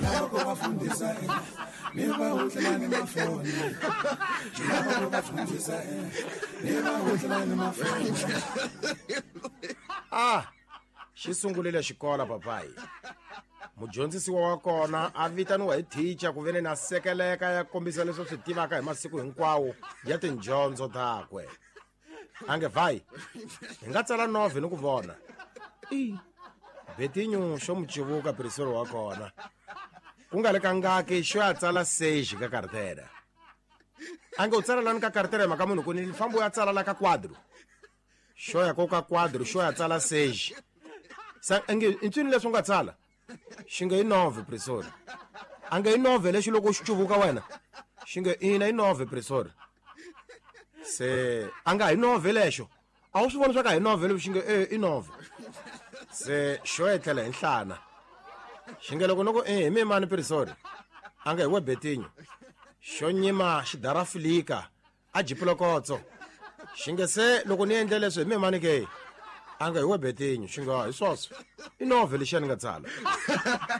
Lava ku va fundisa ni va hutlela ni mafoni. Lava ku va fundisa ni va hutlela ni mafoni. Ah, xi sungurile xikolo papayi. Mudyondzisiwa wa kona a vitaniwa hi thicha ku veni na sekeleka ya kombisa leswi swi tivaka hi masiku hinkwawo ya tindyondzo takwe. A nge vai, hi nga tsala novhe ni ku vona. I Betinyu xo mu civuka pirisolo wa kona. Ku nga le ka ngaki xo ya tsala seji ka kartera. A nge u tsala lani ka kartera hi mhaka munhu ku ni fambo ya tsala la ka quadro. Xo ya ko ka quadro xo ya tsala seji. Sa nge i ntswini leswi u nga tsala? Xi nge i nove prisori. A nge i nove lexi loko xi cuvuka wena? Xi nge ina i nove prisori. Se a nga hi nove lexo. A wu swi voni swa ka hi nove lexi nge e i nove. Se xo etlela hi nhlana. Xi nge loko noko e hi mimani prisori. A nge hi we Betinho. Xo nyima xidarafilika a jipulokotso. Xi nge se loko ni endle leswi hi mimani ke? A nga hi we Betinho. Xi nga hi swoswo. I nove lexiya ni nga tsala.